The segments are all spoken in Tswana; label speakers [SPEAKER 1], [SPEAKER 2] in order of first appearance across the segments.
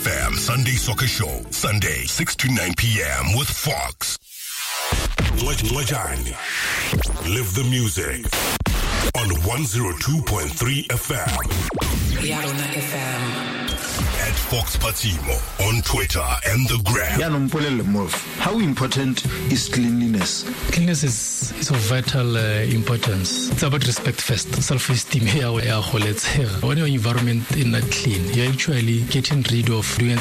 [SPEAKER 1] FM Sunday Soccer Show, Sunday, 6 to 9 p.m. with Fox. Lejani. Live the music on 102.3 FM.
[SPEAKER 2] Yarona FM.
[SPEAKER 1] At Fox Patimo on Twitter and the Gram.
[SPEAKER 3] How important is cleanliness?
[SPEAKER 4] Cleanliness is of vital importance. It's about respect first. Self-esteem. When your environment is not clean, you're actually getting rid of doing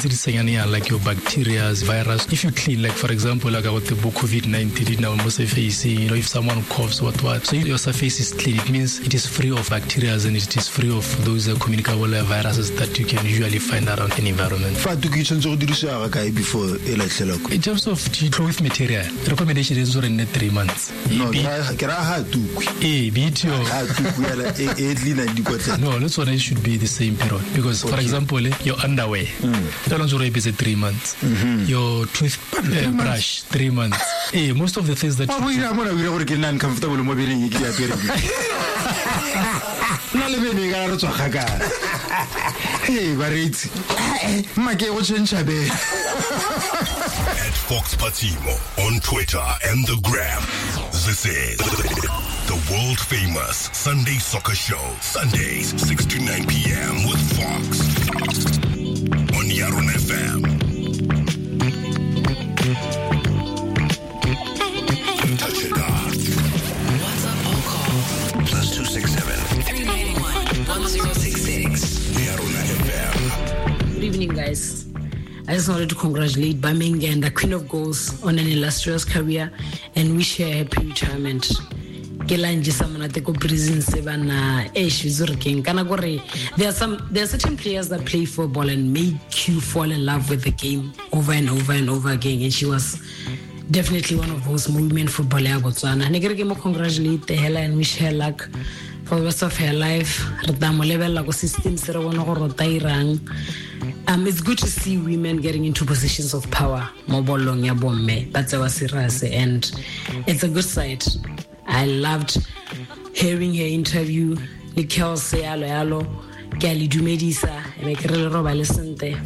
[SPEAKER 4] like your bacteria, virus. If you clean, like for example, like about the COVID-19, now surface, you know, if someone coughs, what. So if your surface is clean, it means it is free of bacteria and it is free of those communicable viruses that you can usually find around an environment. In terms of cloth material, recommendation is 3 months.
[SPEAKER 3] No,
[SPEAKER 4] no, that's what it should be the same period. Because, for example, your underwear, that one's already 3 months. Your tooth brush, 3 months. Most of the things that.
[SPEAKER 1] At Fox Patimo on Twitter and the Gram. This is the world famous Sunday Soccer Show. Sundays, 6 to 9 p.m. with Fox on Yarona FM. Touch it up.
[SPEAKER 2] WhatsApp or call
[SPEAKER 1] +267
[SPEAKER 2] 391 1066.
[SPEAKER 1] Yarona FM.
[SPEAKER 5] Good evening, guys. I just wanted to congratulate Birmingham, the Queen of Goals, on an illustrious career and wish her a happy retirement. There are certain players that play football and make you fall in love with the game over and over and over again, and she was definitely one of those women footballer Botswana. Congratulate her and wish her luck for the rest of her life. It's good to see women getting into positions of power. That's our serious, and it's a good sight. I loved hearing her interview.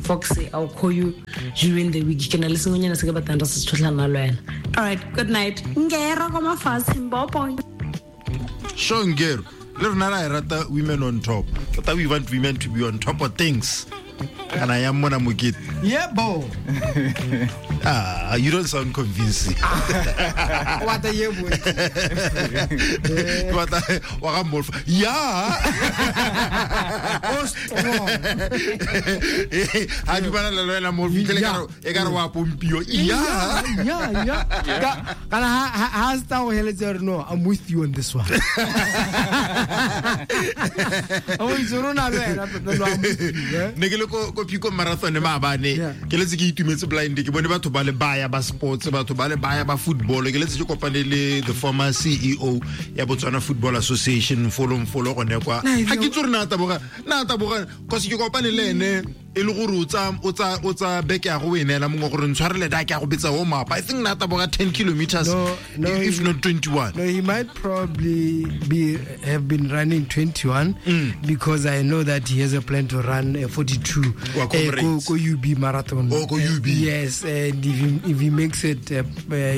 [SPEAKER 5] Foxy, I'll call you during the week. All right, good night.
[SPEAKER 3] Shongero, women on top. But we want women to be on top of things. And I am Mona Mukit.
[SPEAKER 6] Yeah, bo.
[SPEAKER 3] You don't sound convincing.
[SPEAKER 6] What a year, boy.
[SPEAKER 3] What a yeah.
[SPEAKER 6] Yeah. Yeah. No, I'm with you on this one.
[SPEAKER 3] Ko Pico marathon maabane ke letse ke itumetse blind ke bone batho ba le baya ba sports batho ba le baya ba football ke letse ke kopane le the former CEO ya Botswana Football Association folong folo gone kwa ha ke tsore na taboga cause ke kopane le ene e le gore o tsa beke ya go enela mongwe gore ntshwarele da ke a go betsa warm up. I think na taboga 10 kilometers, no, if not 21.
[SPEAKER 6] No, he might probably have been running 21 because I know that he has a plan to run a 42 go UB marathon.
[SPEAKER 3] Oh, go UB.
[SPEAKER 6] Yes, and if he makes it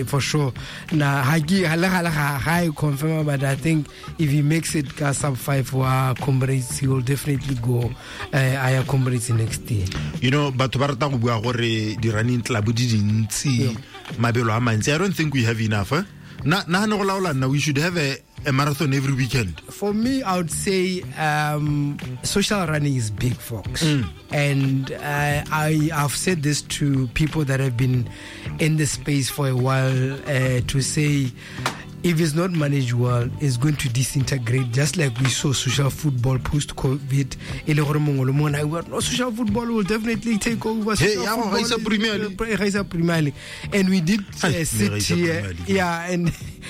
[SPEAKER 6] for sure. Na I confirm, but I think if he makes it sub 5 for Comrades, he will definitely go Aya Comrades next year.
[SPEAKER 3] You know, batho ba rata go bua gore di running club di dintsi mabelo a mantsi. I don't think we have enough. Eh? Na no go laola nna, we should have a marathon every weekend.
[SPEAKER 6] For me, I would say social running is big, folks. And I've said this to people that have been in the space for a while, to say if it's not managed well, it's going to disintegrate, just like we saw social football post-COVID. No, social football will definitely take over.
[SPEAKER 3] Hey,
[SPEAKER 6] Premier League. And we did sit here. Yeah,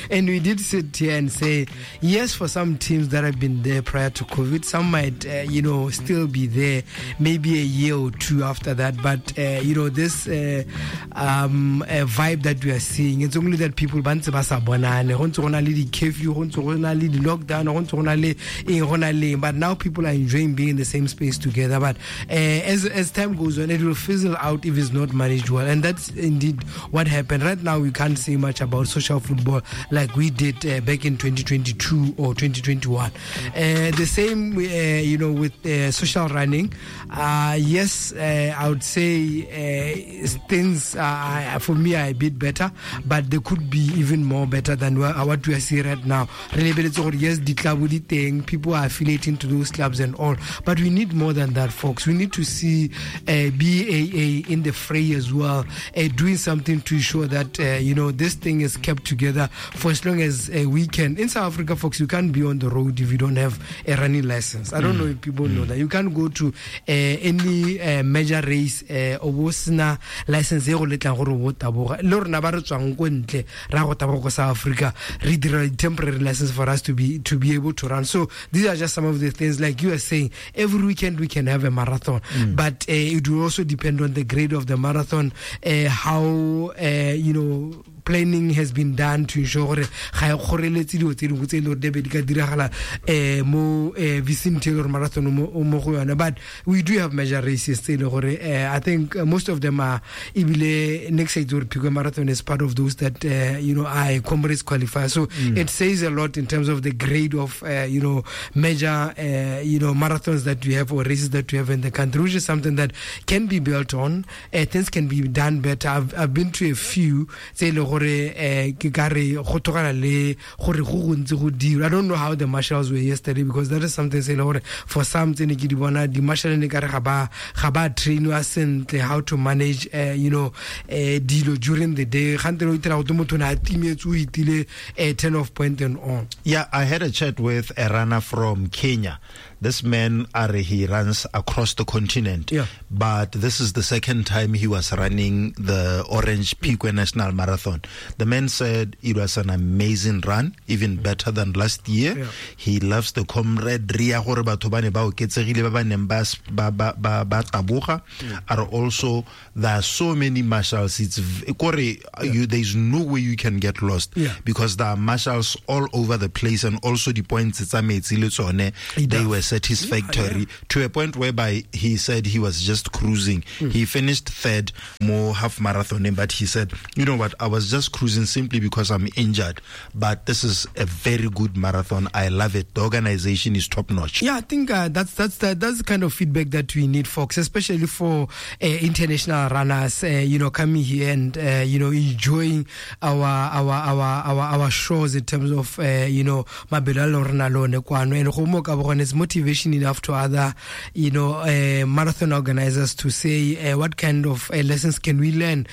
[SPEAKER 6] and we did sit here and say, yes, for some teams that have been there prior to COVID, some might, still be there maybe a year or two after that. But, this vibe that we are seeing, it's only that people bantse ba sa bonane. Go ntse go na le di-curfew, go ntse go na le di-lockdown, go ntse go na le eng, go na le eng. But now people are enjoying being in the same space together. But as time goes on, it will fizzle out if it's not managed well, and that's indeed what happened. Right now, we can't say much about social football like we did back in 2022 or 2021. The same, with social running. Yes, I would say things for me are a bit better, but they could be even more better than what we are seeing right now. Yes, the club thing, people are affiliating to those clubs and all, but we need more than that, folks. We need to see BAA in the fray as well, doing something to ensure that this thing is kept together for as long as we can. In South Africa, folks, you can't be on the road if you don't have a running license. I don't know if people know that. You can't go to any major race o bo sena license e go letlang gore o taboga. Le rona ba re tswang ko ntle ra go taboga ko South Africa, re dira temporary license for us to be able to run. So these are just some of the things, like you are saying, every weekend we can have a marathon, but it will also depend on the grade of the marathon, how planning has been done to ensure gore ga e kgoreletse dilo tse dingwe tse e le gore di be di ka diragala mo vicinity or marathon mo go yone. But we do have major races tse e le gore I think most of them are, ebile next year Phikwe Marathon is part of those that are Comrades qualifier. So it says a lot in terms of the grade of major marathons that we have or races that we have in the country, which is something that can be built on. Things can be done better. I've been to a few tse e le gore ke ka re go tlogela le gore go gontsi go dirwa. I don't know how the marshals were yesterday, because that is something se le gore for some tse ne ke di bona di marshal ne ka re ga ba trainwa sentle how to manage dilo during the day. Gante o itira go motho na timetse o itile turn off point and on.
[SPEAKER 3] Yeah, I had a chat with a runner from Kenya. This man, he runs across the continent.
[SPEAKER 6] Yeah.
[SPEAKER 3] But this is the second time he was running the Orange Phikwe National Marathon. The man said it was an amazing run, even better than last year.
[SPEAKER 6] Yeah.
[SPEAKER 3] He loves the camaraderie ya gore batho ba ne ba oketsegile ba ba neng ba taboga. Are also, there are so many marshals. It's there's no way you can get lost, because there are marshals all over the place, and also the points tsa metsi le tsone, they were satisfactory to a point whereby he said he was just cruising. He finished third more half marathon, but he said, you know what, I was just cruising simply because I'm injured, but this is a very good marathon. I love it. The organization is top notch.
[SPEAKER 6] Yeah, I think that's the kind of feedback that we need, folks, especially for international runners, coming here and enjoying our shows in terms of mabelo a rona le one kwano, and go mo ka bogone it's motivation enough to other marathon organizers to say what kind of lessons can we learn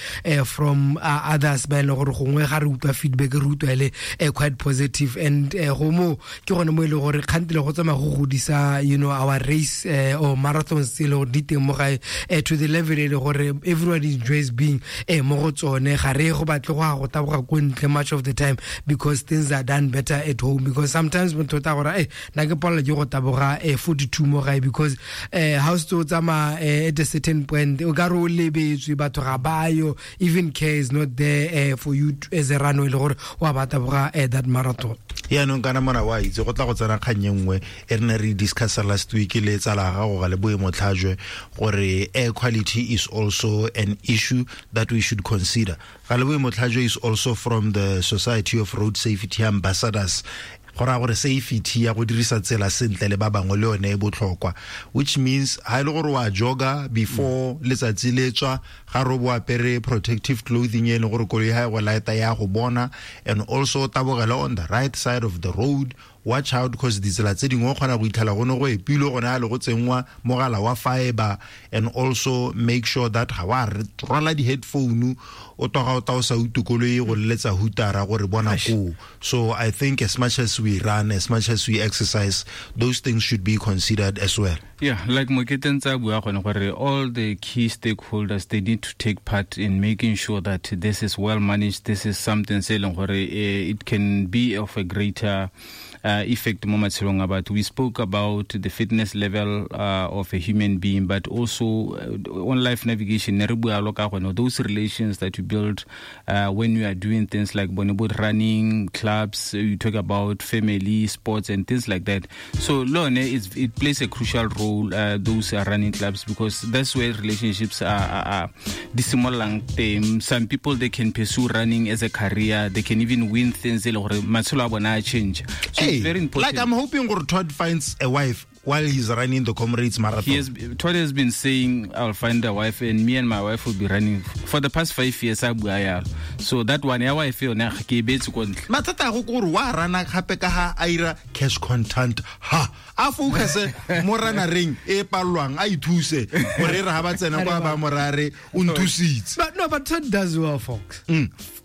[SPEAKER 6] from others ba e leng gore gongwe ga re utlwa feedback re utlwa le quite positive. And go mo ke gone mo e leng gore kgantele go tsamaya go godisa our race or marathons tse e le gore di teng mo gae to the level e le gore everybody enjoys being mo go tsone. Ga re go batle go ya go taboga ko ntle much of the time, because things are done better at home. Because sometimes motho o tla gore nna ke palelwa ke go taboga 42 mo gae, because ha o setse o tsamaya at a certain point o ka re o lebetswe, batho ga bayo, even care is not there for you as a runner e le gore wa ba taboga that marathon.
[SPEAKER 3] Yaanong kana mona wa itse go tla go tsena kgang e nngwe e re ne re discussa last week le tsala gago ga le boemo tlhajwe gore air quality is also an issue that we should consider. Ga le boemo tlhajwe is also from the Society of Road Safety Ambassadors. Go raya gore safety ya go dirisa tsela sentle le ba bangwe le yone e botlhokwa, which means ha e le gore wa joga before letsatsi le tswa, ga re bo apere protective clothing e leng gore koloi ha e go lighta ya go bona, and also tabogela on the right side of the road. Watch out, because ditsela tse dingwe o kgona go itlhela go ne go epilwe gone a le go tsenngwa mogala wa fiber, and also make sure that ga wa rwala di-headphone o toga o ta o sa utlwe koloi go leletsa hutara gore bona koo. So I think as much as we run, as much as we exercise, those things should be considered as well.
[SPEAKER 7] Yeah, like Mokete ntse a bua gone gore all the key stakeholders, they need to take part in making sure that this is well managed. This is something se leng gore it can be of a greater effect mo matshelong a batho. We spoke about the fitness level of a human being, but also on life navigation, ne re bua lo ka gone, those relations that you build when you are doing things like bone bo running clubs, you talk about family, sports and things like that. So lone it plays a crucial role, those are running clubs, because that's where relationships are di simololang teng. Some people, they can pursue running as a career, they can even win things e le gore matshelo a bona a change. So
[SPEAKER 3] Hey,
[SPEAKER 7] it's very important.
[SPEAKER 3] Like, I'm hoping gore Todd finds a wife while he's running the Comrades Marathon.
[SPEAKER 7] Todd has been saying, I'll find a wife, and me and my wife will be running for the past 5 years. A bua yalo. So that one, ya wife yone, ga ke e beetse ko ntle.
[SPEAKER 3] Mathata a go ke gore wa rana gape ka ha a ira cash content, ha a focus mo ranareng e palelwang, a ithuse gore e re ha ba tsena kwa ba morare o nthusitse.
[SPEAKER 6] But no, but Todd does well, folks.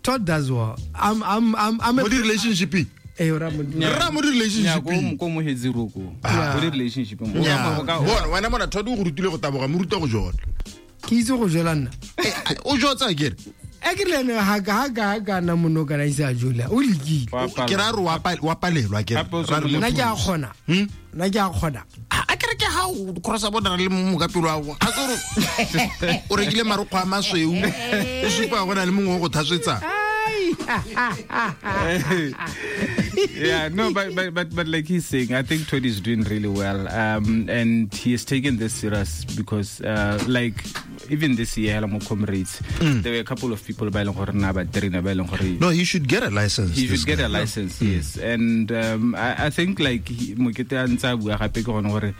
[SPEAKER 6] Todd does well. I'm a
[SPEAKER 3] Mo di-relationshipeng.
[SPEAKER 6] Eh, ora mo di-
[SPEAKER 3] Ra mo di-relationshipeng.
[SPEAKER 7] Ko mo hetse roko. Ko di-relationshipeng.
[SPEAKER 3] Nya. Bona, wena mona Todd o go rutile go taboga, mo ruta go jola.
[SPEAKER 6] Ke itse go jola nna.
[SPEAKER 3] Eh, o jotsa akere?
[SPEAKER 6] A ke rile ene ha ka nna mono kana ise a jola. O lekile.
[SPEAKER 7] Wa palelwa.
[SPEAKER 3] Ke ra re wa palelwa akere.
[SPEAKER 7] Gape o
[SPEAKER 3] Ra re
[SPEAKER 7] tshwanetse
[SPEAKER 6] Nna ke a kgona. Nna ke a kgona.
[SPEAKER 3] A kere ke ha o crossa border le mokapelo wa gago. A ke gore o rekile marokgwe a masweu, o supa go na le mongwe o go thatswetsang.
[SPEAKER 7] Yeah, no, but like he's saying, I think Todd is doing really well, and he has taken this serious because, like, even this year, Helamo Comrades, there were a couple of people by gore na ba trainer ba e leng gore
[SPEAKER 3] No, he should get a license.
[SPEAKER 7] He
[SPEAKER 3] this
[SPEAKER 7] should get
[SPEAKER 3] guy.
[SPEAKER 7] a license, yes. And I think, like, Mokete a ntse a bua gape ke gone gore,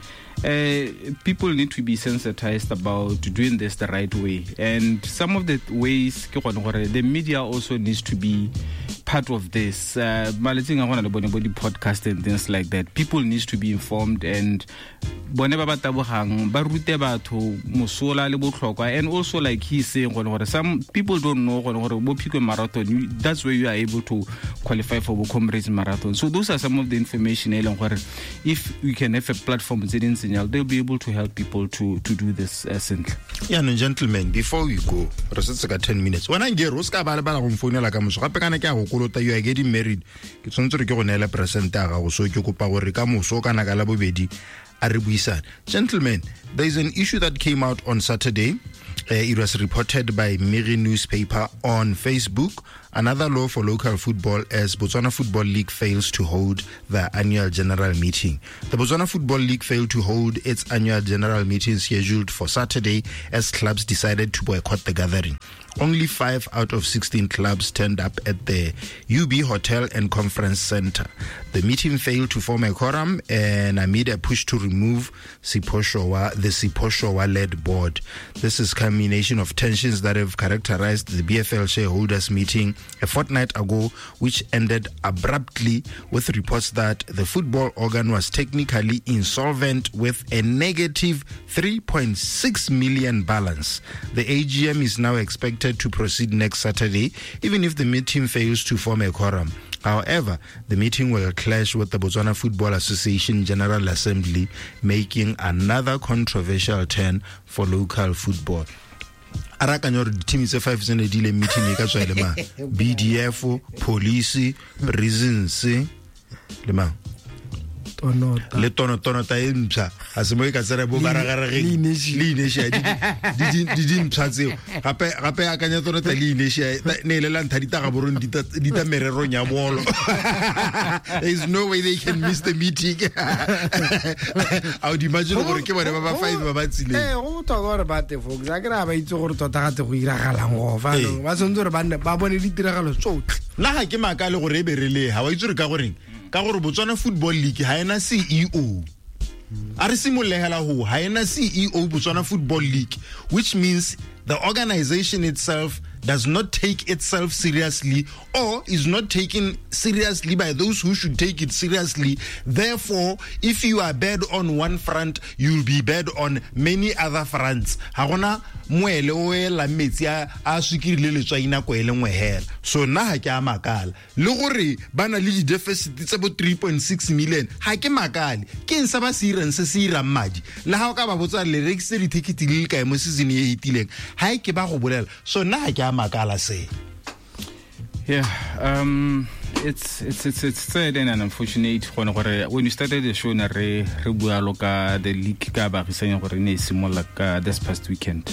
[SPEAKER 7] people need to be sensitized about doing this the right way. And some of the ways ke gone gore the media also needs to be part of this. Malatsing a gona le bone bo di-podcast and things like that. People needs to be informed, and bone ba ba tabogang ba rute batho mosola le botlhokwa. And also, like he's saying, gone gore some people don't know gone gore bo Phikwe Marathon, that's where you are able to qualify for bo Comrades Marathon. So those are some of the information e leng gore if we can have a platform tse di ntseng jalo, they'll be able to help people to do this sentle.
[SPEAKER 3] Yeah, no, gentlemen, before we go, re setse ka 10 minutes. Wena Ngero, o se ka ba lebala go mfounela ka moso. Gape kana ke a go kolota, you are getting married. Ke tshwanetse gore ke go neele present ya gago, so ke kopa gore ka moso kana ka Labobedi a re buisane. Gentlemen, there is an issue that came out on Saturday. It was reported by Miri newspaper on Facebook. Another law for local football as Botswana Football League fails to hold the annual general meeting. The Botswana Football League failed to hold its annual general meeting scheduled for Saturday as clubs decided to boycott the gathering. Only 5 out of 16 clubs turned up at the UB Hotel and Conference Center. The meeting failed to form a quorum and amid a push to remove Sipho Showa, the Sipho Showa-led board. This is culmination of tensions that have characterized the BFL shareholders meeting a fortnight ago, which ended abruptly with reports that the football organ was technically insolvent with a negative 3.6 million balance. The AGM is now expected to proceed next Saturday, even if the meeting fails to form a quorum. However, the meeting will clash with the Botswana Football Association General Assembly, making another controversial turn for local football. A rakanya gore di-team tse 5 tse ne di ile meeting e ka tswa e le mang? BDF, police, prisons le mang?
[SPEAKER 6] Tonota.
[SPEAKER 3] Le tonota e mpsha. A se mo e ka tsena bo baragaregeng.
[SPEAKER 6] Le Inesia.
[SPEAKER 3] Le Inesia, di di mpsha tseo. Gape, gape akanya tonota le Inesia, ne e le la ntlha di ta gaborone, di ta mererong ya bolo. There is no way they can miss the meeting. I would imagine gore ke bone ba ba 5 ba ba tsileng.
[SPEAKER 6] Eh, go botlhokwa gore ba te folks. A ke re ha ba itse gore tota gate go iragalang go fa.
[SPEAKER 3] Ee.
[SPEAKER 6] Ba tshwanetse gore ba nne ba bone ditiragalo tsotlhe.
[SPEAKER 3] Nna ga ke makale gore e be re le ha wa itse gore ka goreng? Ka gore Botswana Football League ha ena CEO. A re simolole hela ho, ha ena CEO Botswana Football League, which means the organization itself does not take itself seriously or is not taken seriously by those who should take it seriously. Therefore, if you are bad on one front, you'll be bad on many other fronts. Ha gona moele o elang metsi a sukiri le letswai nako e le nngwe hela. So nna ha ke a makala. Le gore ba na le di-deficit tse bo 3.6 million, ha ke makale. Ke eng sa ba se irang se se irang madi? Le ha o ka ba botsa le rekisitse di-ticket di le kae mo season e fetileng, ha e ke ba go bolela. So nna ha ke a makala se.
[SPEAKER 7] Yeah, It's sad and unfortunate gone gore when you started the show na re bua lo ka the league ka baagisane gore ne e simolola ka this past weekend.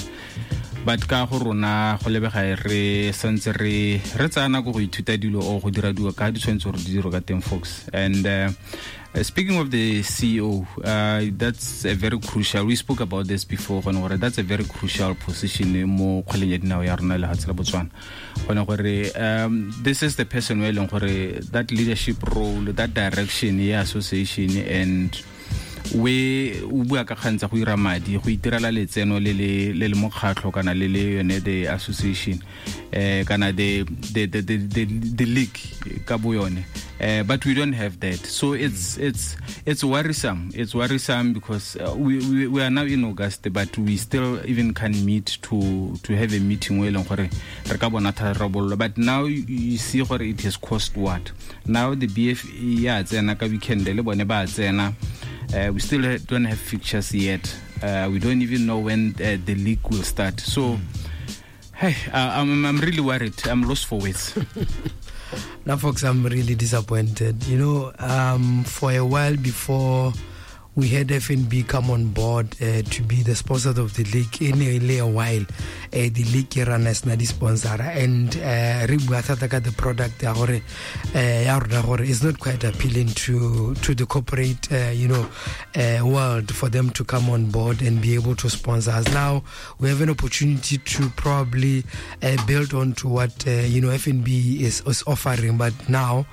[SPEAKER 7] But ka go rona go lebega re santse re tsaya nako go ithuta dilo o go dira dilo ka di tshwanetse gore di dirwe ka teng, folks. And speaking of the CEO, that's a very crucial, we spoke about this before, gone gore that's a very crucial position mo kgweleng ya dinao ya rona lehatshe la Botswana. Gone gore this is the person we leng gore that leadership role, that direction ya association, and we o bua ka kgang tsa go ira madi, go itirela letseno le le mokgatlho kana le le yone the association, kana the league ka bo yone. But we don't have that, so it's worrisome. It's worrisome because we are now in August, but we still even can't meet to have a meeting we leng gore re ka bona tharabololo. But now you see gore it has cost what. Now the BFA ya tsena ka weekend le bone ba tsena. We still don't have fixtures yet. We don't even know when the league will start. So, hey, I'm really worried. I'm lost for words.
[SPEAKER 6] Now, folks, I'm really disappointed. You know, for a while before we had FNB come on board to be the sponsor of the league, in a while, the league ran as the sponsor, and re bua thata ka the product ya gore ya rona gore is not quite appealing to the corporate world for them to come on board and be able to sponsor us. Now we have an opportunity to probably build on to what FNB is offering, but now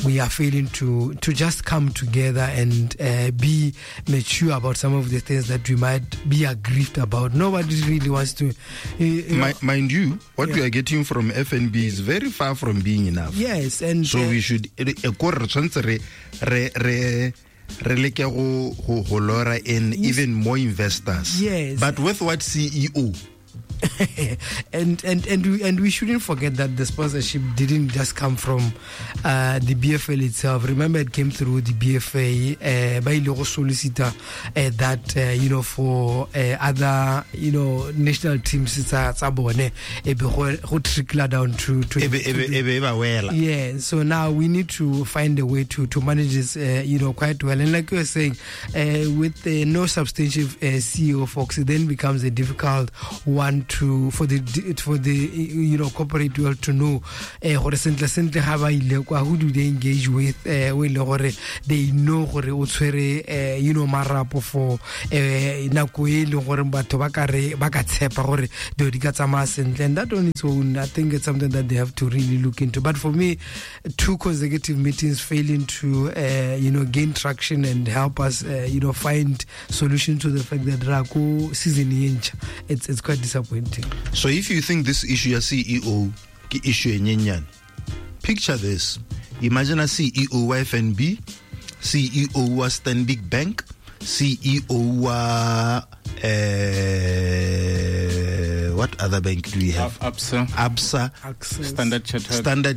[SPEAKER 6] we are failing to just come together and be mature about some of the things that we might be aggrieved about. Nobody really wants to.
[SPEAKER 3] Mind you, what we are getting from FNB is very far from being enough.
[SPEAKER 6] Yes, and
[SPEAKER 3] so we should re leke go lora in even more investors.
[SPEAKER 6] Yes,
[SPEAKER 3] but with what CEO?
[SPEAKER 6] and we shouldn't forget that the sponsorship didn't just come from the BFL itself. Remember, it came through the BFA by logo solicitor that for other national teams tsa bone e be go trickle down to yeah. So now we need to find a way to manage this quite well. And like you were saying, with no substantive CEO, folks, it then becomes a difficult one to for the corporate world to know gore sentle sentle ga ba ile kwa, who do they engage with, o ile gore they know gore o tshwere marapo for nako e leng gore batho ba ka re ba ka tshepa gore dilo di ka tsamaya sentle. And that on its own, I think it's something that they have to really look into. But for me, 2 consecutive meetings failing to gain traction and help us find solution to the fact that Rako season it's quite disappointing.
[SPEAKER 3] So if you think this issue ya CEO ke issue e nyenyane, picture this. Imagine a CEO wa FNB, CEO wa Stanbic Bank, CEO wa what other bank do we have?
[SPEAKER 7] Absa,
[SPEAKER 6] Access.
[SPEAKER 7] Standard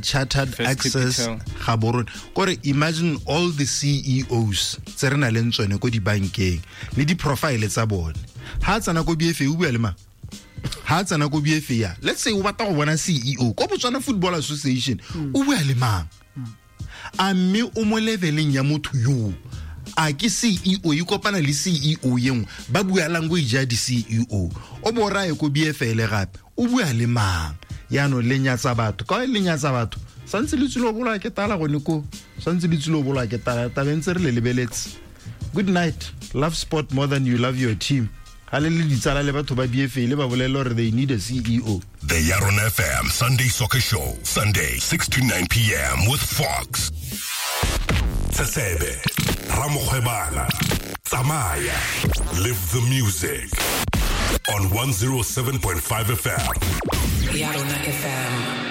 [SPEAKER 3] Chartered, Access, Gaborone. Kore imagine all the CEOs tse re nang le tsone ko dibankeng le di profile tsa bone. Ha tsana ko BFA o bua le mang? Ha tsana ko BFA ya, let's say o batla go bona CEO ko Botswana Football Association, o bua le mang? A mme o mo leveleng ya motho yo? A ke CEO e kopana le CEO ye nngwe, ba bua language ya di CEO. O bo raye ko BFL gape, o bua le mang? Yaanong le nyatsa batho, ka le nyatsa batho santse le tsile bolwa ke tala gone ko, santse le tsile bolwa ke tala, tabeng tse re le lebeletse. Good night. Love sport more than you love your team. Ga le le ditsala le batho ba BFA le ba bolelle gore they need a CEO.
[SPEAKER 1] The Yaron FM Sunday Soccer Show, Sunday 6 to 9 p.m. with Fox. Tsesebe, Ramokgwebana, Tsamaya, live the music on 107.5 FM.
[SPEAKER 2] Yaron FM.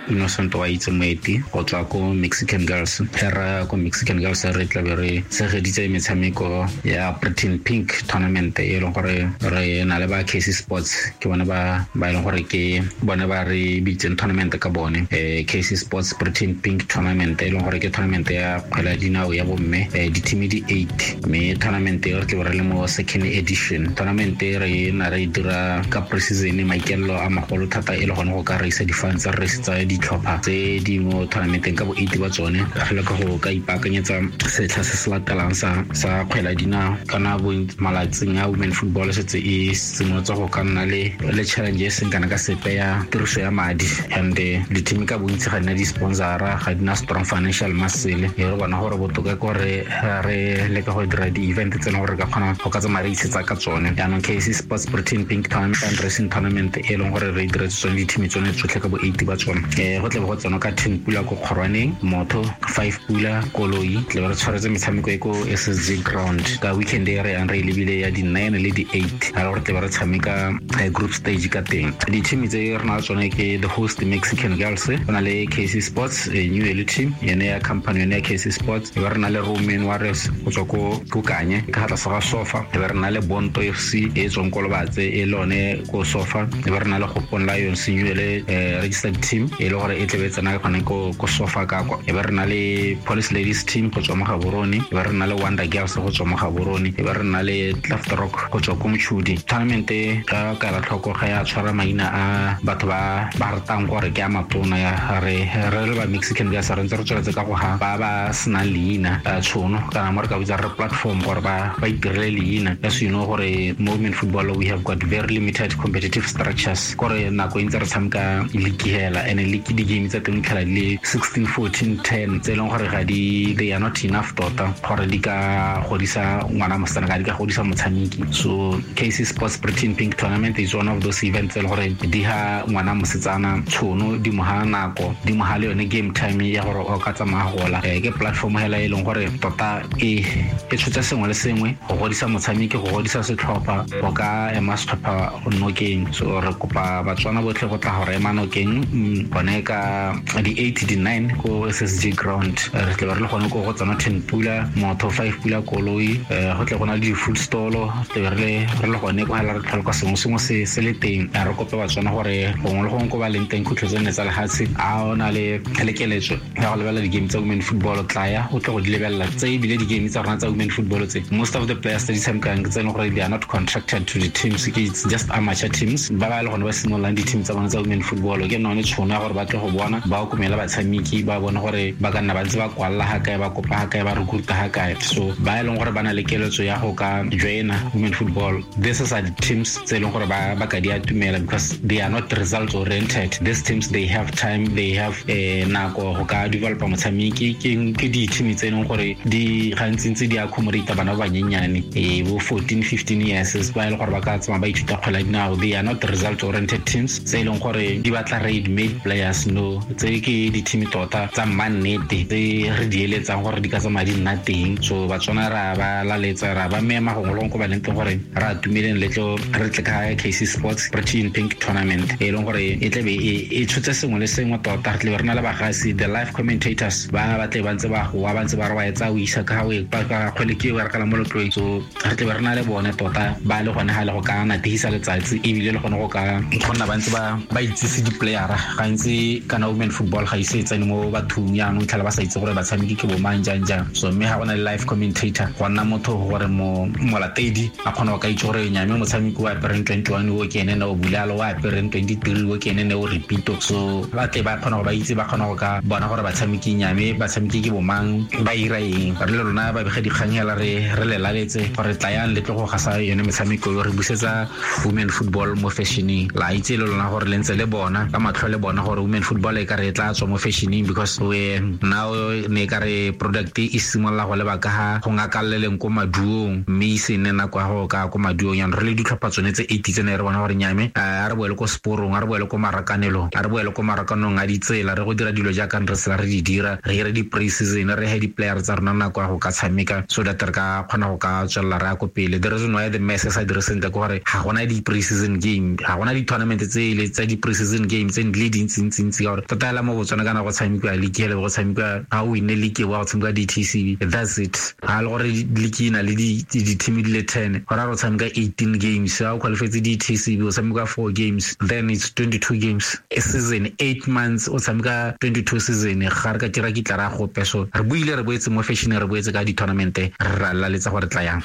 [SPEAKER 8] Innocent wa itse moeti go tswa ko Mexican Girls. Ra ko Mexican Girls re tla be re tshegeditse metshameko ya Pretty Pink tournament e leng gore re na le ba KC Sports, ke bone ba e leng gore ke bone ba re bitseng tournament ka bone. KC Sports Pretty Pink tournament e leng gore ke tournament ya kgwele ya dinao ya bomme, di-team di 8, mme tournament e re tla be re le mo second edition. Tournament e re na re dira ka pre-season, maikelo a magolo thata e le gone go ka reisa di-funds tsa re reisitsa ditlhopha tse di mo tournamenteng ka bo 8 ba tsone re leka go ka ipaakanyetsa setlha se se latelang sa kgwele ya dinao. Kana bo malatsing a women football setse e simolotse go ka nna le challenge e seng kana ka sepe ya tiriso ya madi, and di-team ka bontsi ga di na di-sponsora, ga di na strong financial muscle. E re bona gore botoka ke gore re leka go dira di-event tse e leng gore re ka kgona go ka tsamaya re itshetsa ka tsone. Jaanong KC Sports Britain Pink Tournament and Racing Tournament e leng gore re diretse tsone di-team tsone tsotlhe ka bo 8 ba tsone. Go tle go tsena ka 10 pula ko Kgorwaneng, motho 5 pula koloi, tle re tshwaretse metshameko e ko SSG ground ka weekend e re yang re lebile ya di 9 le di 8, ga gore tle re tshameka group stage ka teng. Di-team tse re na le tsone ke the host Mexican Girls, go na le KC Sports new elite team yone ya company yone ya KC Sports, e be re na le Roman Warriors go tswa ko Kanye ka tlase ga Sofa, e be re na le Bonto FC e tswang ko Lobatse e lone ko Sofa, e be re na le Gopon Lions new ele registered team e le gore e tlebe tsena gone ko Sofa ka kwa, e be re na le Police Ladies team go tswa mo Gaborone, e be re na le Wonder Girls go tswa mo Gaborone, e be re na le Cleft Rock go tswa ko Mochudi. Tournament ka kala tlhoko ga ya tshwara maina a batho ba ratang gore ke a matona ya re le ba Mexican Girls re ntse re tsweletse ka go ha ba senang leina tshono kana mo re ka bitsa re platform gore ba itirele leina. As you know gore women football we have got very limited competitive structures, gore nako e ntse re tshameka league hela, and league di game tsa teng tlhela di le 16 14 10 tse e leng gore ga di they are not enough tota gore di ka godisa ngwana mosetsana ka di ka godisa motshameki. So KC Sports Britain Pink Tournament is one of those events tse e leng gore di ha ngwana mosetsana tshono, di mo ha nako, di mo ha le yone game time ya gore o ka tsamaya gola. Ke platform hela e leng gore tota e tshotse sengwe le sengwe go godisa motshameki, go godisa setlhopha, go ka ema setlhopha nokeng. So re kopa Batswana botlhe go tla gore ema nokeng gone ka di 8 di 9 ko SSG ground. Re tle re le gone ko go tsena 10 pula motho 5 pula koloi, go tle go na le di-food stall, tle re le gone ko hela re tlhola sengwe sengwe se le teng. Re kope Batswana gore gongwe le gongwe ko ba leng teng khutlo tse nne tsa lehatshe a o na le keletso ya go lebelela di-game tsa women football, tlaya o tle go di lebelela tse ebile di-game tsa rona tsa women football tse most of the players tse di tshamekang ke tse e leng gore they are not contracted to the teams, it's just amateur teams ba le gone ba simololang di-team tsa bona tsa women football. Ke none tšhono ya gore ba tle go bona ba okomela batshameki, ba bone gore ba ka nna ba ntse ba kwalla ga kae, ba kopa ga kae, ba recruita ga kae. So ba e leng gore ba na le keletso ya go ka joina women football, this is are the teams tse e leng gore ba ka di atumela because they are not results oriented. These teams they have time, they have nako go ka developa motshameki. Ke di-team tse e leng gore di gantsintsi di accommodate bana ba banyenyane bo 14 15 years ba e leng gore ba ka tsamaya ba ithuta kgwele ya dinao. They are not result oriented teams tse e leng gore di batla ready made players, no. Tse ke di-team tota tsa mmannete tse re di eletsang gore di ka tsamaya di nna teng. So Batswana ra ba laletsa, ra ba mema gongwe le gongwe ko ba leng teng gore re atumeleng le tlo re tle ka KC Sports Britain Pink Tournament e leng gore e tlebe e tshotse sengwe le sengwe tota. Re tlebe re na le bagasi, the live commentators ba tle ba ntse ba goa, ba ntse ba re wa etsa o isa ka ka kgwele ke e berekela mo letloweng. So re tlebe re na le bone tota ba le gone ga le go ka nategisa letsatsi, ebile le gone go ka go nna ba ntse ba itsise di-playera gantsi. Kana women football ga ise e tsene mo bathong jaanong tlhela ba sa itse gore batshameki ke bo mang jang jang. So mme ga go na le live commentator, go nna motho gore molatedi a kgona go ka itse gore nyame motshameki o apereng 21 o ke ene ne o bulalo, o apereng 23 o ke ene ne o repito. So ba tle ba kgona go ba itse, ba kgona go ka bona gore batshameki nyame batshameki ke bo mang, ba ira eng. Re le rona ba bega dikgang hela re le laletse gore tlayang le tle go gasa yone metshameko yo re busetsa women football mo fashioning. La itse le lona gore le ntse le bona ka matlho le bona gore women football e ka re tla tswa mo fashioning because we now ne ka re product e simolola go leba ka ga go ngakaleleng ko maduong, mme e se nne nako ya go ka ko maduong. Jaanong re le ditlhopha tsone tse 8 tse ne re bona gore nyame a re boele ko seporong, a re boele ko marakanelong, a re boele ko marakanong a ditsela, re go dira dilo jaaka re sela re di dira, re ire di-pre-season, re he di-player tsa rona nako ya go ka tshameka so that re ka kgona go ka tswelela re ya ko pele. The reason why the mess sa dire sentle ke gore ga gona di-pre-season game, ga gona di-tournament tse le tsa di-pre-season game tse di le dintsintsi ka gore tota hela mo Botswana kana go tshamekiwa league hele, go tshamekiwa ga o winne league wa go tshamekiwa DTCB, that's it. Ga le gore league e na le di-team di le 10, gore a re tshameka 18 games, ga o qualifetse DTCB o tshameka 4 games, then it's 22 games a season, 8 months o tshameka 22 season. Ga re ka tira kitla ra gope. So re buile re boetse mo fashion, re boetse ka di-tournament, re ra laletsa gore tla yang.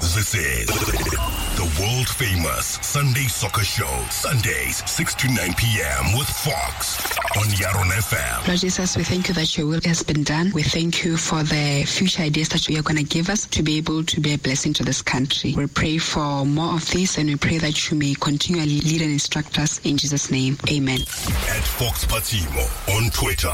[SPEAKER 1] This is The world famous Sunday Soccer Show. Sundays, 6 to 9 p.m. with Fox on Yaron FM.
[SPEAKER 9] Lord Jesus, we thank you that your will has been done. We thank you for the future ideas that you are going to give us to be able to be a blessing to this country. We pray for more of this, and we pray that you may continually lead and instruct us in Jesus' name. Amen.
[SPEAKER 1] At Fox Patimo on Twitter.